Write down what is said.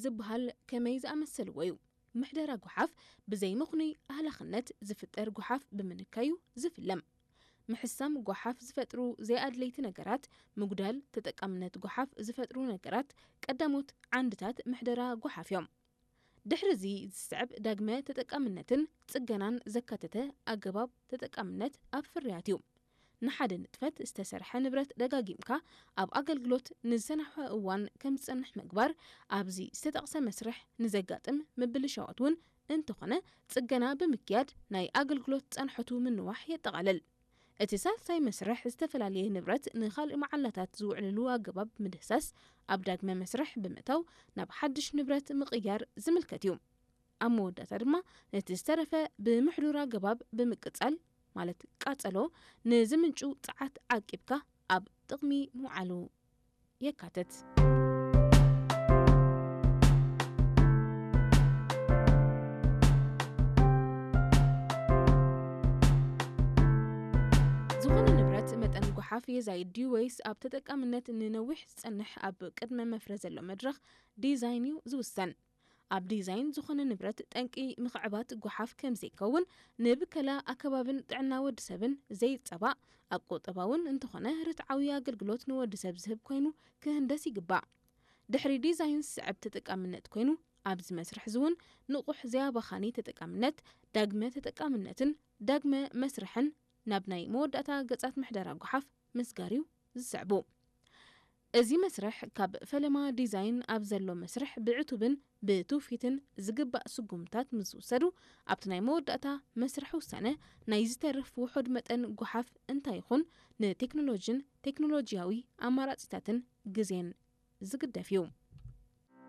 ዝበሃል ከመይ ዝኣመሰልዎ እዩ። ምሕደራ ጓሓፍ ብዘይ ምኽኑይ ኣህላኽነት ዝፍጠር ጓሓፍ ብምንካዩ ዝፍለም። ምሕሳም ጓሓፍ ዝፈጥሩ ዘይኣድለይቲ ነገራት፣ ምጉዳል ተጠቃምነት ጓሓፍ ዝፈጥሩ ነገራት ቀዳሞት ዓንድታት ምሕደራ ጓሓፍ እዮም። ድሕሪ እዚ ዝስዕብ ዳግመ ተጠቃምነትን ጽገናን ዘካተተ ኣገባብ ተጠቃምነት ኣብ ፍርያት እዩ። ንሓደ ንጥፈት ዝተሰርሐ ንብረት ደጋጊምካ ኣብ ኣገልግሎት ንዝሰናሕወ እዋን ከም ዝጸንሕ ምግባር ኣብዚ ዝተጠቕሰ መስርሕ ንዘጋጥም ምብልሻዋት እውን እንተኾነ ጽገና ብምክያድ ናይ ኣገልግሎት ጸንሖቱ ምንዋሕ የጠቓልል። እቲ ሳልሳይ መስርሕ ዝተፈላለየ ንብረት ንኻልእ መዓላታት ዝውዕልሉ ኣገባብ ምድህሳስ ኣብ ዳግመ መስርሕ ብምእታው ናብ ሓድሽ ንብረት ምቕያር ዝምልከት እዩ። ኣብ መወዳእታ ድማ ነቲ ዝተረፈ ብምሕዱር ኣገባብ ብምቅጻል ማለት ቃጸሎ ንዝምንጩ ጸዓት ዓቂብካ ኣብ ጥቕሚ ምውዓሉ የካትት። ዝኾነ ንብረት መጠን ጓሓፍ የዛይድ ድዩ ወይስ ኣብ ተጠቃምነት ንነዊሕ ዝጸንሕ ኣብ ቅድመ መፍረ ዘሎ መድረኽ ዲዛይን እዩ ዝውሰን። ኣብ ዲዛይን ዝኾነ ንብረት ጠንቂ ምኽዕባት ጓሓፍ ከም ዘይከውን ንብከላ ኣከባብን ጥዕና ወዲ ሰብን ዘይጸባእ ኣብ ቁጠባውን እንተኾነ ርትዓዊ ኣገልግሎት ንወዲ ሰብ ዝህብ ኮይኑ ክህንደስ ይግባእ። ድሕሪ ዲዛይን ዝስዕብ ተጠቃምነት ኮይኑ ኣብዚ መስርሕ ዝውን ንቑሕ ዘያባኻኒ ተጠቃምነት ዳግመ ተጠቃምነትን ዳግመ መስርሕን ናብ ናይ መወዳእታ ገጻት ምሕደራ ጓሓፍ ምስጋርዩ ዝስዕቡ። እዚ መስርሕ ካብ ፈለማ ዲዛይን ኣብ ዘሎ መስርሕ ብዕቱብን ብትውፊትን ዝግባእ ስጉምታት ምስ ዝውሰዱ ኣብቲ ናይ መወዳእታ መስርሕ ውሳነ ናይ ዝተርፍ ውሑድ መጠን ጓሓፍ እንታይ ይኹን ንቴክኖሎጂን ቴክኖሎጂያዊ ኣማራጺታትን ግዜን ዝግደፍ እዩ።